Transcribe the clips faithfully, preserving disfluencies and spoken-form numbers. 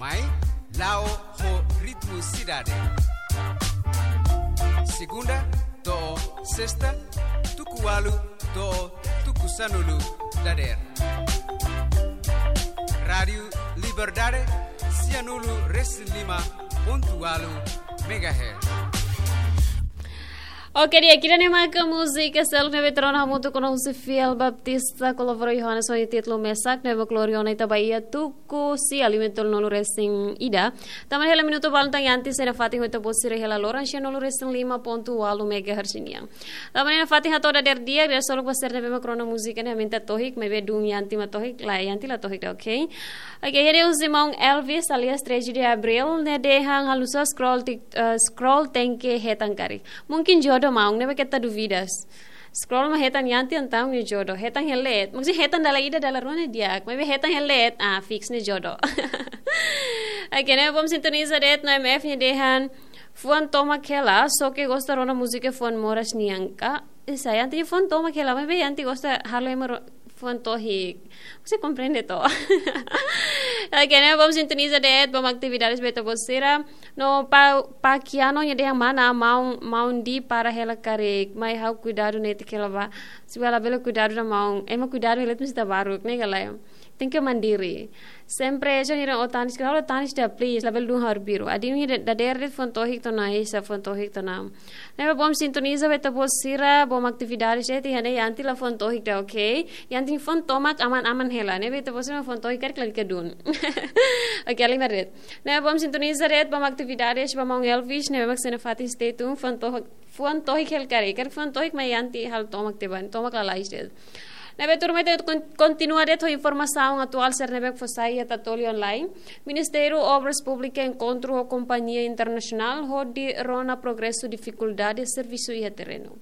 Mai, la'o ho ritmu sidade. Segunda to'o sesta, tuku ualu to'o tuku sanulu dadeer. Rádiu Liberdade, sianulu resin lima pontu ualu megahertz. Oke, di'ak, ida-ne'e maka múzika seluk ne'ebé tuur ona hamutuk ho ona husi Fiel Baptista, kolabora Yohanes ho títulu mesak, ne'ebé mak lori ona ita ba iha tuku sia lima tolunulu resin ida. Tanba ne'e hela minutu balun tan iha antes ena fatin hotu bosira hela loran sianulu resin lima pontu ualu megahertz nian. Tanba ne'e ena fatin hato'o dadeer di'ak, di'ak seluk ba sira ne'ebé mak rona múzika ne'e, aumenta tohik, maibé dun iha ante mak tohik, la iha ante la tohik ida, oke? Oke, ida-ne'e husi maun Elvis alias treze de Abril, ne'e dehan halo nu'usá scroll tik-, eh, scroll tenke hetan karik. Mungkin jodoh maun, ne'ebé keta dúvidas. Scroll mak hetan iha ante entaun ne'e jodoh. Hetan iha leet. Maksudnya hetan dala ida dala rua ne'e di'ak. Maibé hetan iha leet, ah, fix ne'e jodoh. Oke, ne'e bom sintoniza de'it no M F ne'e dehan fuan tomak hela, só ke gosta rona múzika fuan moras nian ka. Esa, iha ante fuan tomak hela, maibé iha ante gosta halo ema ro-, fuan tohik. Você komprende to? Oke, ne'e bom sintoniza de'it, bom atividades ba ita-boot sira. No pa, pa Kiano nia dehan mana, maun, maun di para hela karik, mai ha'u kuidadu netik hela ba. Se bela bela kuidadu ida maun, ema kuidadu hela mesti tabaruk, ne'e ka lae. Tenke mandiri. Sempre jan ira o tanis, kalau tanis ida please, labele dun ha'u arbiru. Adin ida dadeer de'it fuan tohik tiha ona, esa fuan tohik tiha ona. Ne'ebé bom sintoniza ba ita-boot sira, bom atividades de'it, iha ne'e iha ante la fuan tohik ida, oke? Iha ante fuan tomak aman-aman hela. Ne'ebé ita-boot sira fuan tohik karik lalika dun. Oke, alin de'it. Ne'ebé bom sintoniza de'it, bom atividades ba maun Elvis, ne'ebé mak sei nafatin stay tuned, fuan tohik, fuan tohik hela karik. Karik fuan tohik mai iha ante halo tomak tiha ba, tomak lalais de'it. Ne'ebé tuirmai ita kon-, kontinua de'it ho informasaun atuál sira ne'ebé fó sai iha Tatoli Online. Ministériu Obras Públikas enkontru ho kompañia internasionál hodi rona progresu difikuldade servisu iha terrenu.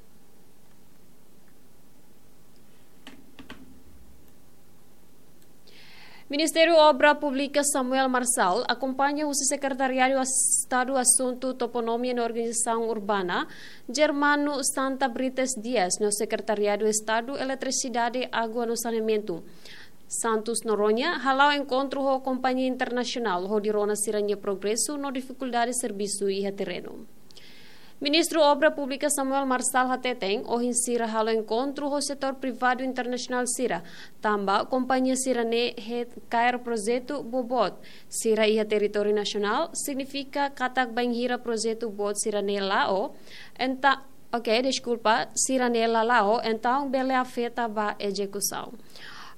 Ministériu Obra Públika Samuel Marçal akompaña husi Sekretariadu As-, Estadu Asuntu Toponímia no Organizasaun Urbana, Germano Santa Brites Dias, no Sekretariadu Estadu Eletrisidade, Água no Saneamentu, Santos Noronha, hala'o enkontru ho kompañia internasionál hodi rona sira-nia progresu no difikuldade servisu iha terrenu. Ministru Obra Públika Samuel Marçal hateten, ohin sira halo enkontru ho setór privadu internasionál sira, tanba kompañia sira-ne'e hetan kaer projetu boboot sira iha territóriu nasionál, signifika katak bainhira projetu boot sira-ne'e la'o, entaun, oke, deskulpa, sira-ne'e la la'o, entaun bele afeta ba ezekusaun.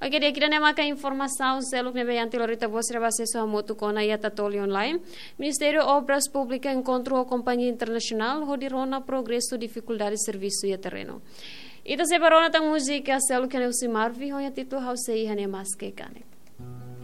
Oke, di'ak, ida-ne'e maka informasaun seluk ne'ebé iha ante lori ita-boot sira ba asesu hamutuk ona iha Tatoli Online. Ministériu Obras Públikas enkontru ho kompañia internasionál hodi rona progresu difikuldade servisu iha terrenu. Ita sei bá rona tan múzika seluk ne'e husi Marvi ho nia títulu Ha'u Sei Iha Ne'e Maske Kanek.